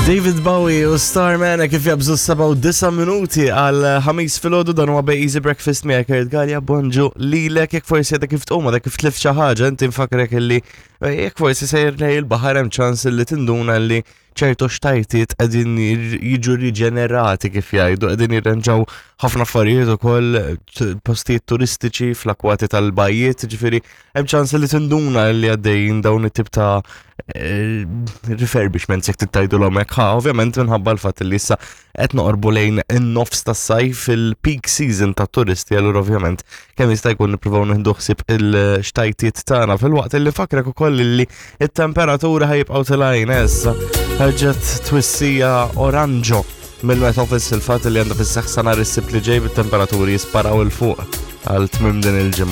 David Bowie u Starman kif jabżu 7 minuti għal ħamis filgħodu dan huwa Bay Easy Breakfast miegħek Kurt Gallia bonġu lilek jekk forsi għadek kif tqum għadek kif tlift xi ħaġa inti nfakrek illi eh, jekk forsi sejjer lej il-baħar hemm ċans illi tinduna li ċertu xtajtiet qegħdin jiġu riġenerati kif jgħidu qegħdin jirranġaw ħafna affarijiet ukoll postijiet turistiċi fl-akwati tal-bajjiet, ġifieri hemm ċans li tinduna li għaddejjin dawn it-tip ta' eh, refurbishments jekk tittajdu hekk ħa, ovvjament minħabba l-fatt li issa qed noqorbu lejn in-nofs tas-sajf fil-peak season ta' turisti, allura ovvjament kemm jista' jkun nippruvaw nieħdu ħsieb il-xtajtiet tagħna fil-waqt li fakrek ukoll li it-temperatura ħajibqgħu tilgħin issa ħarġet twissija oranġo mill-Met Office il-fatt li għandha fis-seħħ sa nhar is-Sibt li ġej bit-temperaturi jisparaw il fuq għal tmiem din il-ġimgħa.